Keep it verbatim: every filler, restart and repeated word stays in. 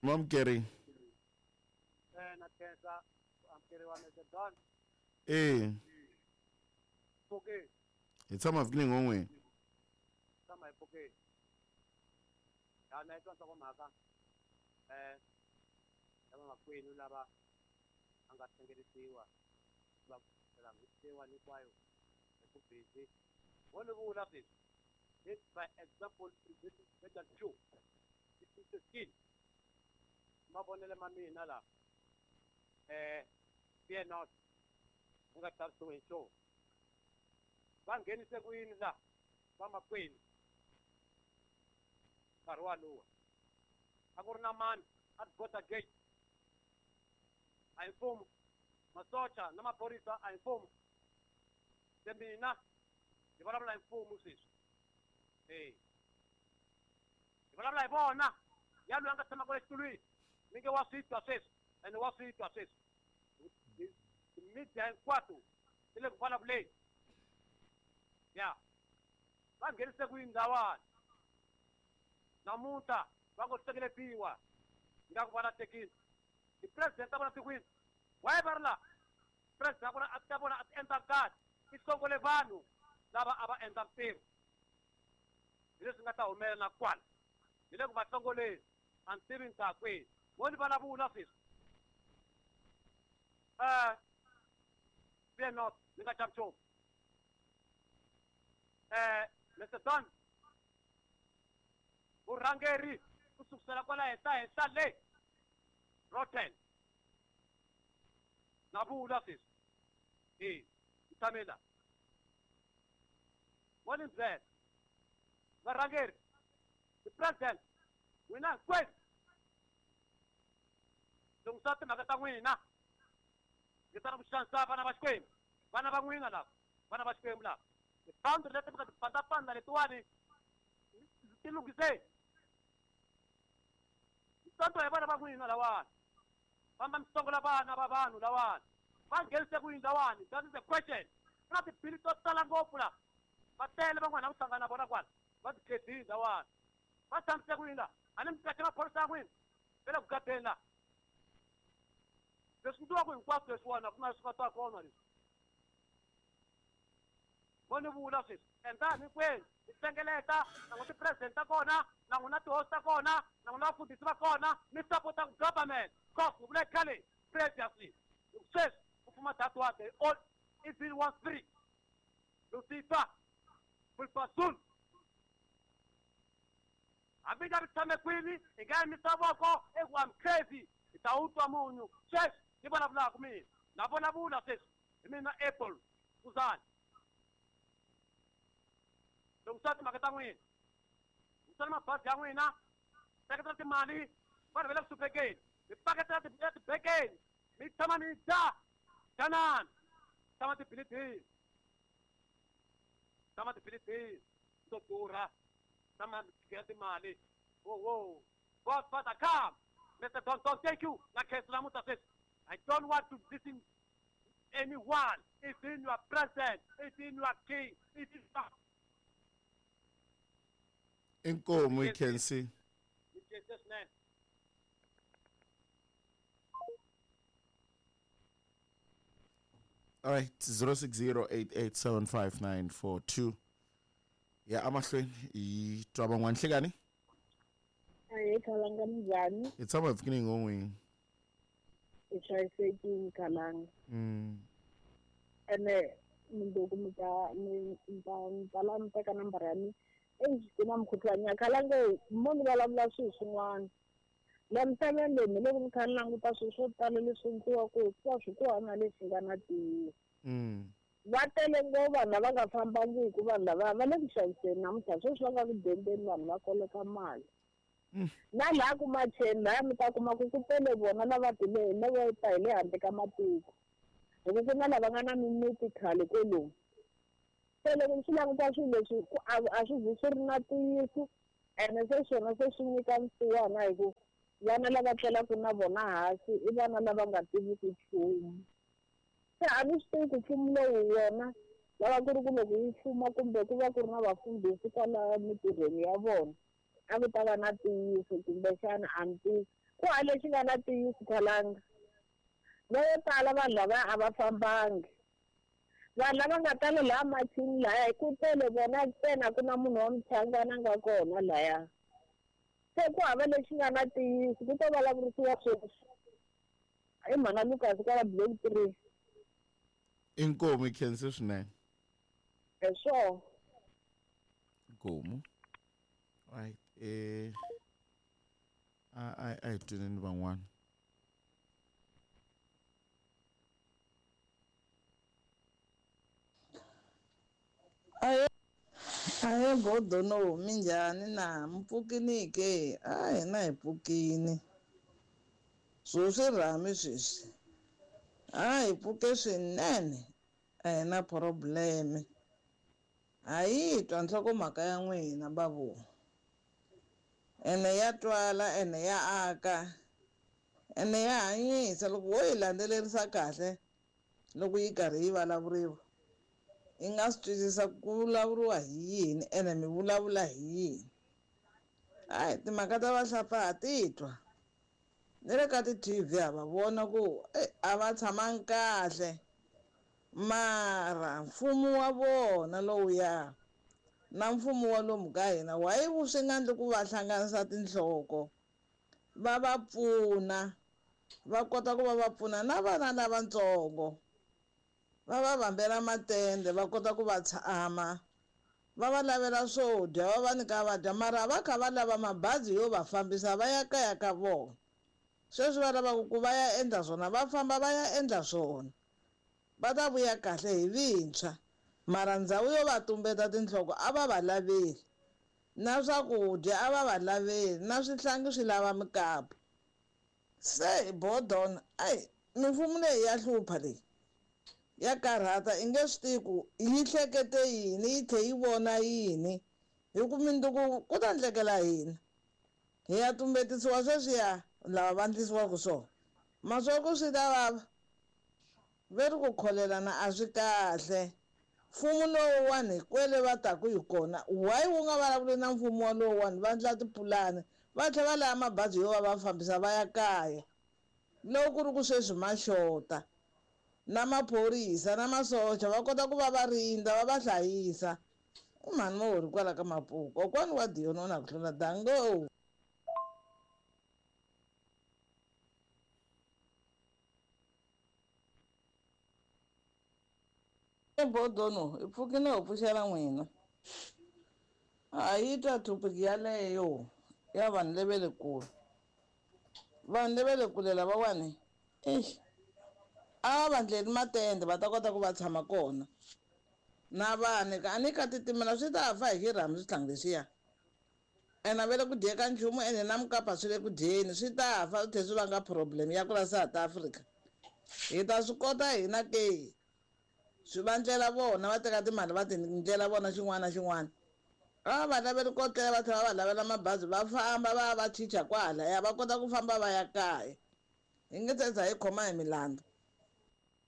Mamkeri. Eh na khensa amkeriwa Mister Don. Eh. Pfuke. Hi tshama vhikini ngon'we. Tshama hi pfuke. Ya na twa nhlokomhaka. Eh lava makwenu lava a nga hlengeletiwa va langutiwa hinkwayo hi ku busy. Wo ni vula sweswi. This by example better two. This is the skin. Mavonelo ma mina la. Eh fear not. U nga chavisiwi hi nchumu. Va nghenise ku yini la vamakwenu nkarhi walowo a ku ri na mani at border gate a hi mfumo masocha na maphorisa a hi mfumo se mina hi vulavula hi mfumo sweswi e hi vulavula hi vona ya loyi a nga tshama kwale xitulwini mi nge wa swi twa sweswi ene wa swi twa sweswi media hinkwato ti le ku vulavuleni ya va nghenise ku yini lawani namuntlha va ngo hlengeletiwa nga ku va lahlekile ti-president ta vona tikwini why va ri laha president ta vona a ta vona a ti endla kahle i hlongole vanhu lava a va endla ntirho hi leswi nga ta humelela na kwala hi le ku va hlongoleni a ni tivi ni ta kwihi mo ni vulavula sweswi um fear not ni nga chavi nchumu eh Mister Don vurhangeri ku sukusela kwala henhla henhla le rotten na vula sweswi e ni tshame la wo ni byela varhangeri ti-president n'wina hinkwenu lunghisa timhaka ta n'wina ngi ta na ku xanisa vana va Xikwembu vana va n'wina lava vana va Xikwembu lava tiboundary leti mi nga ti pandapanda letiwani ti lunghiseni mitonto hi vana va n'wina lawani famba mi songola vana va vanhu lawani va nghenise ku yini lawani that is the question ku na tibili to tala ngopfu la va tele van'wana ku hlangana na vona kwala va ti khedini lawani va tshamise ku yini la a ni mi kahle maphorisa ya n'wina va le ku gadeni la leswi ni tivaka hinkwaswo leswiwani a ku na leswi nga ta kona leswi vo ni vula sweswi endlani hinkwenu mi hlengeleta na n'wina ti-president ta kona na n'wina tihosi ta kona na n'wina vafundhisi va kona mi sapota government cause ni vule khale previously sweswi ku fuma that one they all evil one spirit Lucifer will hambi nga ri tshame kwini hi nga yimisa voko eku I'm crazy hi ta wu twa munhu sweswi ni vulavulaka mina na vulavula sweswi hi mina Apple Kuzani lunghisa timhaka ta n'wina lungisani mabazi ya n'wina seketela timali vanhu va le ku hluphekeni mi paketela etibekeni mi tshama mi dya dyanani tshama tibilidini tshama tibilidini to durha tshama mi tshikela timali wo wo God Father come Mister Don Don thank you na khensa namuntlha sweswi I don't want to listen anyone if in your president if in your king if in your Inkomu hi khensi. Ni khensa swinene. All right, zero six zero eight eight seven five nine four two. Ya amahlweni hi twa van'wana nhlekani. Ahee Khalanga minjhani? Hi tshama hi pfukini ngon'wini. Hi hlayisekile Khalanga. Mm. Ene mundzuku mi ta mi ta mi ta la mi teka nambara ya mina. Eish ku na mukhuhlwani ya Khalanga mo ni vulavula swilo swin'wana. La misaveni leyi mi loko mi kha ni languta swilo swo tala leswi endliwaka hikuva swi ku hava leswi nga na ntiyiso. Mm. Va tele ngopfu vanhu lava nga fambangiki vanhu lava va le ku xaviseni namuntlha sweswi va nga ku dendeni vanhu va koleka mali. Na laha ku macheni laya mi ta kuma ku ku tele vona lava tile lava ta hi le handle ka matiko. Hi ku ku na lava nga na mimiti khale kwalomu. Se loko ni swi languta swilo leswi ku a a swi zi swi ri na ntiyiso ene se swona se swi nyika nsiwana hi ku vana lava tlelaka na vona hansi i vana lava nga tiviki nchumu. Se a ni swi tivi ku mfumo lowu wona lava ku ri ku loko yi fuma kumbe ku va ku ri na vafundhisi kwala emitirhweni ya vona a ku ta va na ntiyiso kumbexana a ni tivi. Ku hava lexi nga na ntiyiso khalanga. Vo tala vanhu lava a va fambangi. Vanhu lava nga tala laha machini laya ku tele vona ntsena ku na munhu wa muchangana a nga kona laya. Se ku hava lexi nga na ntiyiso ku to vulavurisiwa sweswi. I mhana Lucas kwala block three. Inkomu khense swinene. Hi swona. Inkomu. Right eh a a a hi twaneni van'wana. Aye aye bodono minjhani na mpfukini ke a hina hi pfukini. Swo swi rhami sweswi. A hi pfuke swinene a hi na problem. A yi twa nhlokomhaka ya n'wina babu. Ene ya twala ene ya aka ene ya hanyisa loko wo yi landzelerisa kahle loko yi karhi yi vulavuriwa i nga swi twisisa ku vulavuriwa hi yini ene mi vulavula hi yini. Hayi timhaka ta vahlapfa ha ti twa ni le ka ti-T V ha va vona ku a va tshamangi kahle mara mfumo wa vona lowuya na mfumo wa lomu ka hina why wu swi nga endli ku va hlanganisa tinhloko va va pfuna va kota ku va va pfuna na vana lavatsongo va va vambela matende va kota ku va tshama va va lavela swo dya va va nyika va dya mara va kha va lava mabazi yo va fambisa va ya kaya ka vona. Sweswi va lavaka ku va ya endla swona va famba va ya endla swona va ta vuya kahle hi vintshwa mara ndhawu yo va tumbeta tinhloko a va va laveli na swakudya a va va laveli na swihlangi swi lava mikapu. Se bodona ayi mimfumo leyi ya hlupha leyi ya karhata i nge swi tivi ku yi hlekete yini yi tlhe yi vona yini hi ku mundzuku ku ta ndlekela hina hi ya tumbetisiwa sweswiya lava va endlisiwaka swona maswaku swi ta vava ve ri ku kholelana a swi kahle. Mfumo lowuwani hikwele va taku hi kona why wu nga vulavuli na mfumo walowuwani va endla tipulani va tlhela va lava mabazi yo va va fambisa va ya kaya loko ku ri ku sweswi ma xota na maphorisa na masocha va kota ku va va rindza va va hlayisa. I mhani Mohori kwala ka Mapuku kokwani wa Dion na ku hlula dango. Bodono i pfukile ho pfuxela n'wina a yi twa topic yaleyo ya vanhu lava le kule vanhu lava le kule lavawani eish a va ndleli matende va ta kota ku va tshama kona na vanhu a ni ka titimela swi ta fa hi xirhami swihlangi leswiya ene a va le ku dyeka nchumu ene na mukapa swi le ku dyeni swi ta fa swi tlhela swi vanga problem ya ku la South Africa. Hi ta swi kota hina ke swi va ndlela vona va teka timali va ti ndlela vona xin'wana na xin'wana a va laveli ko tlela va tlhela va lavela mabazi va famba va va chicha kwalaya va kota ku famba va ya kaya hi nge se za hi khoma hi milandzu.